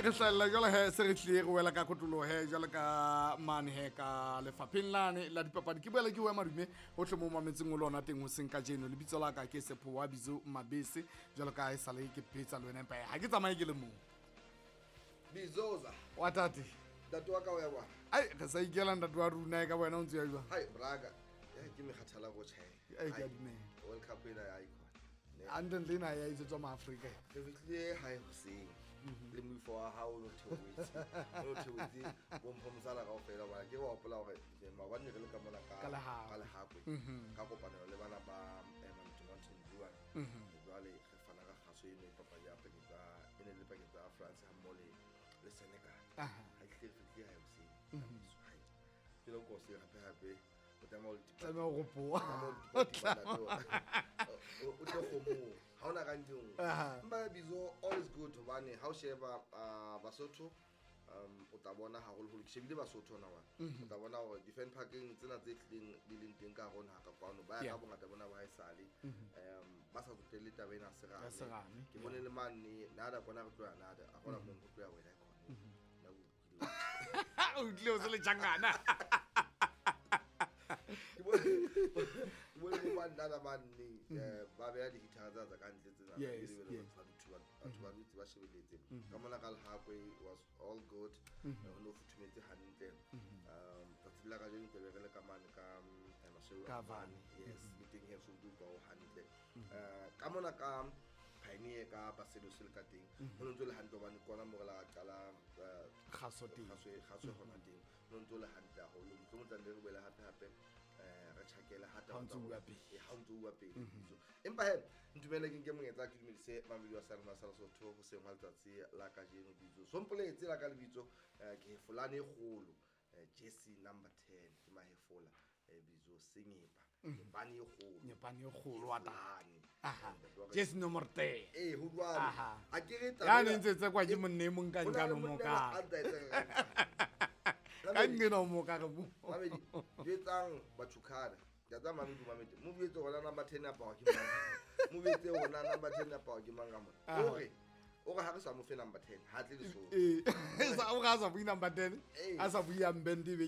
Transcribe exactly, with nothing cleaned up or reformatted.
Re hlahella jwale he, se re tlile re wela ka kotloloho he jwale ka mane he ka lefapheng lane la dipapadi. Ke boela ke o madume hohle mo mametseng o lona teng hoseng kajeno. Lebitso la ka ke Sepho wa Bizo Mabese, jwalo ka ha e sale ke phetsa le wena, empa ha ke tsamaye ke le mong. Bizoza. Wa tate. Ntate wa ka o ya bwana. Ai, re sa ikela ntate wa rona ka wena o ntse ya jwang? Hai braga. Ya ke mekgathala go tjhaela. Ai, ke a dumela. World Cup ena ya icon. Hantle ena ya etsetswa maAfrika. Re fihlile hae hoseng. Le moifo wa hao o no theohetse. O no theohetse bo mpho mosala kaofela hobane ke wa hopola hore maobane re le ka mona ka Ka Lehakwe. ka Lehakwe. Ka kopanelo le bana ba eh, Mountain Blue. Jwale re fana ka kgaso eno e papadi ya pakeng tsa e ne le pakeng tsa France ha mmoho le le Senegal. Aha. Ha ke hle re fihlile hae hoseng. Hai. Ke lo ko hoseng hape hape. O tlameha o le tipa- Tlameha ho ropoha. tlameha o le tipa ntate o o tle kgomong. Ha hona ka ntlong. Aha. Empa Bizo, all is good hobane ha o sheba ah, Basotho um o tla bona haholoholo ke shebile Basotho hona wa. O tla bona hore di-fan parking tsena tse tlileng di leng teng ka hare ho naha ka kwano ba ya Yeah. ka bongata bona ba haesale um ba sa tsotelle taba ena ya Ya serame. serame, Ke bone le mane nada kona re tloya nada a hona moo re tloya wena khona. Nna ke utlwile. O utlwile o se le tjangana. Ke bone ke bone bo banana bane eh, ba beha di-guitar tsa tsa ka ntle tsena. Yes, Ebe le yes. batho ba dutse ba- batho ba dutse ba shebeletse. Ka mona ka Lehakwe was all good. Eh, ho no futhumetse hantle. Um tsatsi la kajeno tla be re le ka mane ka mm, eh, Maseru Ka a Vane. Vane. Yes, le teng he so utlwa ho hantle. Eh, ka mona ka Pioneer ka Basedos le ka teng. Ho no ntso le hantle hobane kona mo re la qala eh, Kgaso teng. kgaso kgaso hona teng. Ho no ntso le hantle haholo. Mohlomong tla nne re boele hape hape eh re tjhakele ha Ha o ntso taba tsa bua hore- pele. Eh, ha o ntso bua pele. So, empa he ntumele ke nke monyetla ke dumedise mamedi wa sa rona sa Lesotho hoseng hwa letsatsi la kajeno Bitso. Sompoletse la ka lebitso eh, ke hefolane e kgolo eh, jersey number ten ke mahefola eh, Bitso Sengepa. Nyepane e kgolo. Nyepane e kgolo wa tate. Hefolane. Aha. Ntate wa ka- Jersey nomoro ten. Eh, ho jwalo. Aha. A ke re taba Ya ne ena- ntse tsekwa ke monna e mong ka Ho na le nkano mo monna ka. a ntsa etsa ka- Ka nqena o mo ka re mo. Mamedi, jwetsang Batjhukhana. Ke a tseba Mamedi o mametse. Mo jwetse hore na number ten ya pawa ke mang. Mo jwetse hore na number ten ya pawa ke mang ka mona. Aha. O re, o re ha re sa mo fe number ten, ha tle Lesotho. Eh, sa o ga sa bui number ten. Eh. A sa bui yang band e be ke